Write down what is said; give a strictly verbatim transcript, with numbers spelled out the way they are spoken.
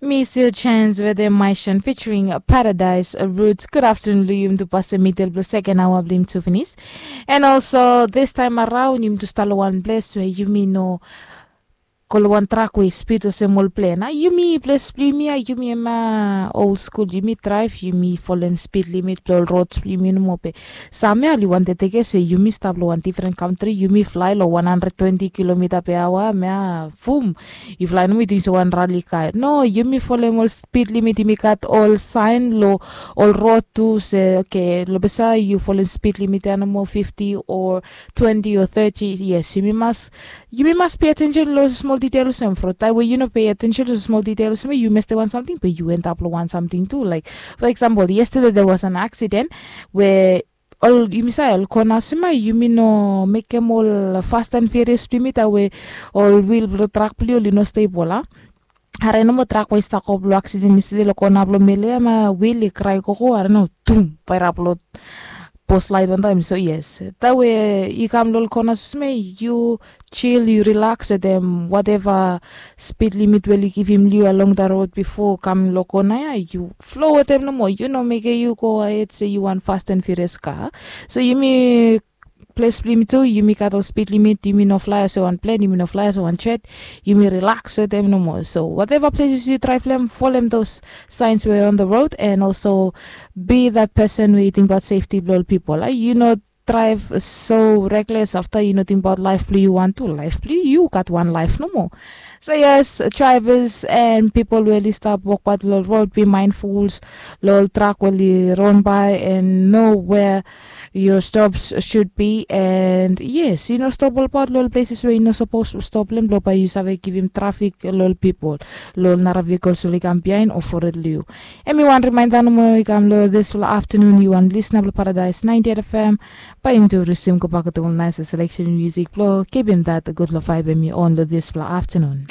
Miss Your Chance wetem Maishan featuring Paradise Roots. Good afternoon long yumi tu, pasim middle blong second hour blong yumi tu finis. And also this time around yumi tu stap long wan ples we yumi no go long wan trak we spid olsem ol plen. A yumi ples blong yumi, a yumi em a old school, yumi drive, yumi folem speed limit blong ol roads blong yumi nomo. Be sam ya oli wantem tekem se yumi stap long wan different country, yumi fly long one hundred twenty kilometer per hour, mea fum, yu fly nomo yu ting se wan rali kai. No, yumi folem ol speed limit, yumi gat ol sign long ol road tu se okay, long ples ya yu folem speed limit ya nomo fifty or twenty or thirty. Yes, yumi mas yumi mas pay attention long smol detail olsem. From taem we yu no pay attention long smol detail olsem, yu mestem wan samting be yu end up long wan samting tu. Like for example, yesterday there was an accident we ol yumi save ol kona olsem, yumi no mekem ol fast and furious blong yumi taem we ol wheel blong trak blong yu oli no stable, a? Are nomo trak we i stap go blong accident yesterday long kona blong Mele ya, ma wheel i krae gogo, are no, tum, pairap long post light wantaem. So yes, taem we i kam long ol kona olsem, yu chill, yu relax wetem whatever speed limit we oli givim long yu along the road before kam long kona ya, yu flow wetem nomo. Yu no mekem yu go ahed se yu wan fast and furious car. So yumi ples blong yumi tu, yumi gat ol speed limit, yumi no fly olsem wan plen, yumi no fly olsem wan jet, yumi relax wetem nomo. So whatever places yu drive long em, folem those signs we on the road, and also be that person we yu tingbaot safety blong ol pipol. Yu no drive so reckless afta yu no tingbaot laef blong yu wan tu. Laef blong yu, yu gat wan laef nomo. So yes, drivers and pipol we oli stap wokbaot long ol road, be mindfuls long ol trak we oli ronbae and know where your stops should be. And yes, yu no stop olbaot long ol places we yu no sapos stop long em, blong bae yu save givim trafik long ol pipol, long ol nara vehicles oli kam biaen o fored long yu. Hemi wan remainda nomo i kam long disfala aftanun. Yu wan lisna blong Paradise ninety-eight F M. Bae yumi tu risim gobak wetem ol naes selection musik blong kipim that gudfala vibe hemi on long disfala aftanun.